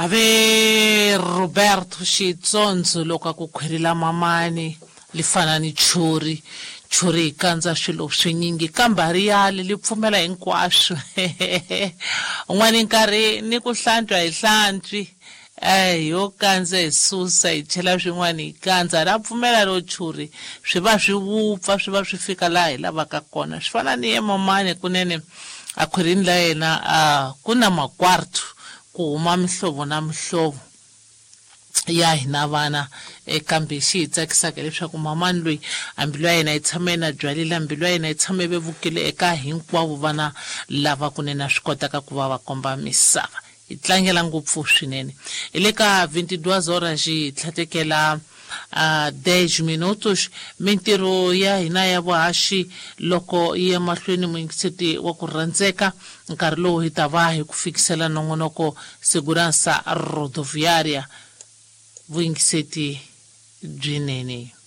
Ave Roberto Xitsondzo loko a ku khwiri la mamani li fana ni churi churi yi kandza swilo swinyingi kambe a ri yali li pfumela hinkwaswo un'wana nkarhi ni ku hlantswa hi hlantswi eh yo kandza hi susa hi chela swin'wana hi kandza ra pfumela ro churi swi va swi wupfa swi va swi fika laha hi lavaka kona swi fana ni ye mamani kunene a khwirini la yena a ku na makwartu ku huma mihlovo na mihlovo ya hina vana eh, kambe xi hi tsakisaka leswaku mamani loyi a mbilu ya yena yi tshama yi na byalile mbilu ya yena yi tshama yi vevukile eka hinkwavo vana lava kunene a swi kotaka ku va va komba misava hi tlangela ngopfu swinene hi le ka 22 horas hi tlhatekela uh, 10 minutos mintirho ya hina ya vuhaxi loko yi ya mahlweni muyingiseti wa ku rhandzeka nkarhi lowu hi ta va hi ku fikisela nongonoko segurança rodoviária vuyingiseti byinene.